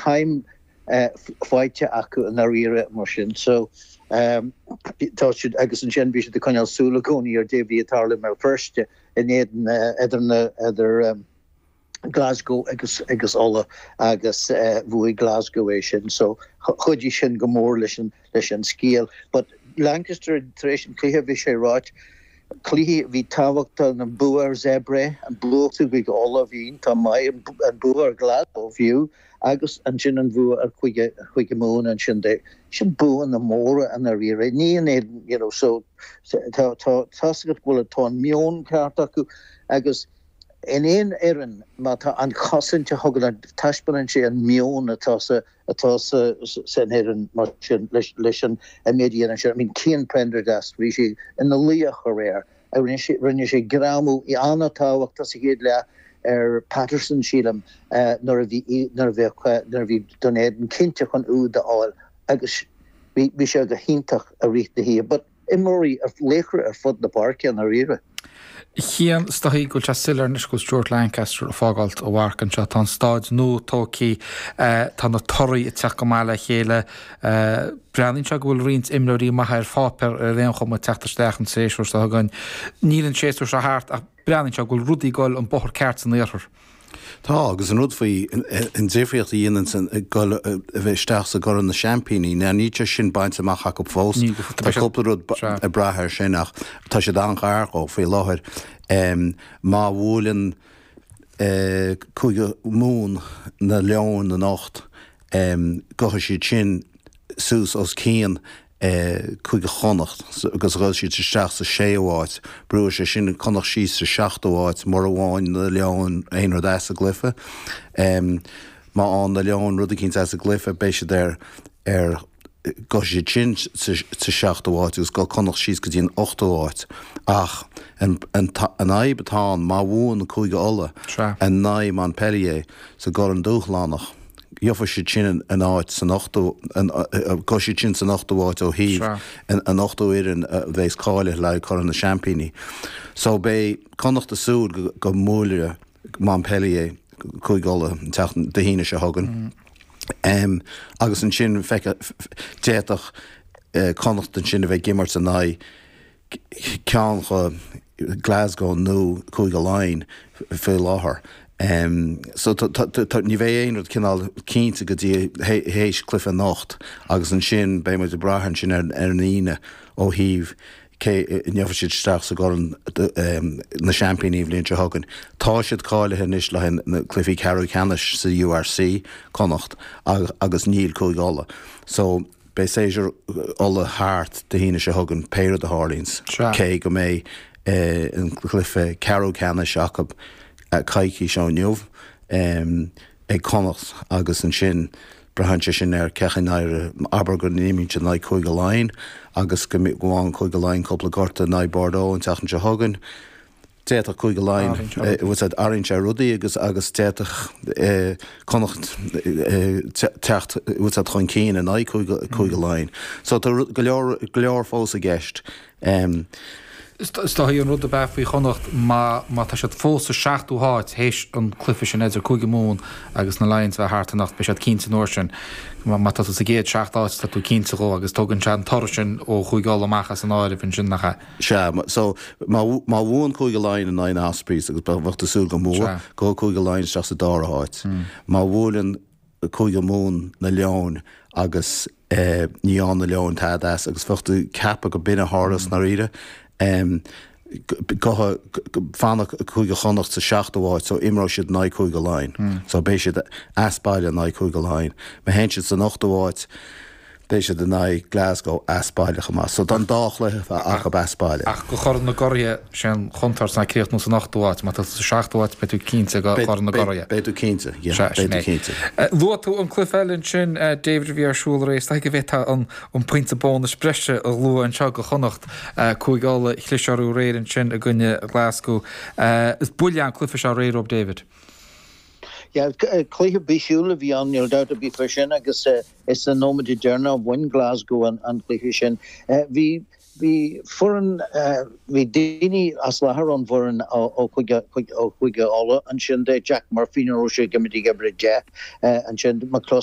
Time faighte acu i ndáiríre mar sin. So tá siad, agus ansin bhí siad ag coinneáil súil i gcónaí ar cad é a bhí ag tarlú i mBéal Feirste in éadan idir na idir Glasgow agus agus Uladh agus bhuaigh Glasgow é sin. So chuidigh sin go mór leis an leis an scéal. But Lancaster tar éis an chluiche bhí sé ráite cluichí a bhí tábhachtach, an bua ar Zebre, an bua chuig Uladh a bhí iontach maith, an bua ar Glasgow fiú agus ansin an bhua ar Chúige Chúige Mumhan ansin de. Sin buanna móra i ndáiríre. Ní in éadan, you know, so tá tá tá's agat go bhfuil tá an meon ceart acu agus in aon fhoireann má tá an chosaint a thugann an taispeánann sé an meon atá sa atá sa san fhoireann mar sin leis leis an an méid a dhéanann sé. I mean Cian Prendergast bhí sé ina laoch aréir. Rinne sé rinne sé greamú an-tábhachtach sa chéad leath ar Patterson sílim nuair a bhí nuair a bheadh nuair a bhí Dún Éideann cinnte chun úd a fháil agus bhí bhí sé go hiontach i rith na hoíche. But imreoirí laochra ar fud na páirce i ndáiríre. Cian, is dóigh go bhfuil sé soiléir anois go bhfuil Stuart Lancaster ag fágáilt a mharc anseo. Tá an staid nua tógtha, tá na torthaí ag teacht go maith le chéile. Breathnaíonn sé go bhfuil roinnt imreoirí maithe ar pháipéar ar aon chuma ag teacht isteach an séasúr seo chugainn. Níl an séasúr seo thart ach breathnaíonn sé go bhfuil rudaí ag dul an bóthar ceart san iarthar. Tá, agus an rud faoi, an difríocht a dhéanann san dul a bheith isteach sa gCorn na Seaimpíní, now níl sé sin bainte amach acu fós, tá cúpla rud ag brath air sin ach tá siad an-ghar dhó faoi láthair. Má bhuaileann Cúige Mumhan na Leoin anocht, gabhfaidh siad sin suas os cionn Cúige Chonnacht agus gabhfaidh siad isteach sa séú háit. Brúfaidh sé sin Connacht síos sa seachtú háit mura bhfaigheann na Leoin aon rud as an gcluiche. Má fhaigheann na Leoin rud eicínt as an gcluiche beidh siad ar ar gabhfaidh siad sin sa seachtú háit agus gabhfaidh Connacht síos go dtí an ochtú háit. Ach an fhadhb atá ann má bhuann Cúige Uladh in aghaidh Montpellier sa gCorn Dúshlánach, Gheobhaidh siad sin an áit san ochtú, gabhfaidh siad sin san ochtú háit ó thaobh an ochtú fhoireann a bheas cáilithe le haghaidh Corn na Seaimpíní. So beidh Connacht ag súil go mbuailfidh Montpellier Cúige Uladh an tseachtain, Dé hAoine seo chugainn. Agus ansin d'fhéadfadh Connacht ansin a bheith ag imirt in aghaidh ceann de Glasgow nó Cúige Laighean faoi láthair. So ní bheidh aon rud cineál cinnte go dtí théis cluiche anocht agus ansin beidh muid ag brath ansin ar an Aoine ó thaobh cé a ngeobhaidh siad isteach sa gCorn na Seaimpíní an bhliain seo chugainn. Tá siad cáilithe anois le haghaidh na cluichí ceathrú ceannais sa URC, Connacht, agus níl Cúige Uladh. So Beidh séasúr Uladh thart Dé hAoine seo chugainn, pé rud a tharlaíonns, cé go mbeidh an cluiche ceathrú ceannais acu coicís ó inniu ag Connacht agus ansin braitheann sé sin ar cén chaoi a n-éireoidh, abair go n-imríonn siad in aghaidh Cúige Laighean agus go bhfaigheann Cúige Laighean cúpla gortú in aghaidh Bordeaux an tseachtain seo chugainn. D'fhéadfadh Cúige Laighean, bhfuil a fhios agat, athraíonn sé rudaí agus agus d'fhéadfadh Connacht teacht, bhfuil a fhios agat, chun cinn in aghaidh Cúige Laighean. So tá go leor, go leor fós i gceist. Is dóigh an rud ab ea faoi Chonnacht má má tá siad fós sa seachtú háit théis an cluiche sin idir Cúige Mumhan agus na Lions a bheith thart anocht, beidh siad cinnte an uair sin. Má tá tú sa gcéad seacht áit tá tú cinnte dhó agus tógann sé an toradh sin ó Chúige Uladh amach as an áireamh ansin nach ea? Sea, so, má, má bhuann Cúige Laighean in aghaidh na Ospreys, agus bheadh tú ag súil go mbuafadh, gabhfaidh Cúige Laighean isteach sa dara háit. Má bhuaileann Cúige Mumhan na Leoin agus eh, ní fhaigheann na Leoin tada as, agus bheadh tú ag ceapadh go b'in a tharlós i ndáiríre, em, gabhfaidh, fanfaidh Cúige Chonnacht sa seachtú háit, so imreoidh siad in aghaidh Cúige Laighean. So beidh siad as baile in aghaidh Cúige Laighean. Má théann siad san ochtú háit, Beidh siad in aghaidh Glasgow as baile chomh maith. So tá an dá chluiche acu as baile. Ach go Chorn na gCuraithe, sé an chontúirt ná críochnú san ochtú háit. Má tá tú sa seachtú háit, beidh tú cinnte go Chorn na gCuraithe. Beidh tú cinnte, yeah. Sea, sin Beidh tú é. cinnte. Luaigh tú an cluiche eile ansin, David, a bhí ar siúl aréir. Is dóigh go bhféadfá an an pointe bónais breise a lua anseo go Chonnacht. Cúige Uladh, chlis orthu aréir ansin i gcoinne Glasgow. Is buille é an cluiche seo aréir dóibh, David. Yeah, cluiche bisiúil a bhí ann, níl dabht ar bith faoi sin, agus is sna nóiméidí deireanacha a bhain Glasgow an cluiche sin. Bhí bhí foireann, bhí daoine as láthair ón bhfoireann ó Chúige Uladh ansin, Jack Murphy, ní raibh sé ag imirt ag uimhir a 10 ansin, McCluskey.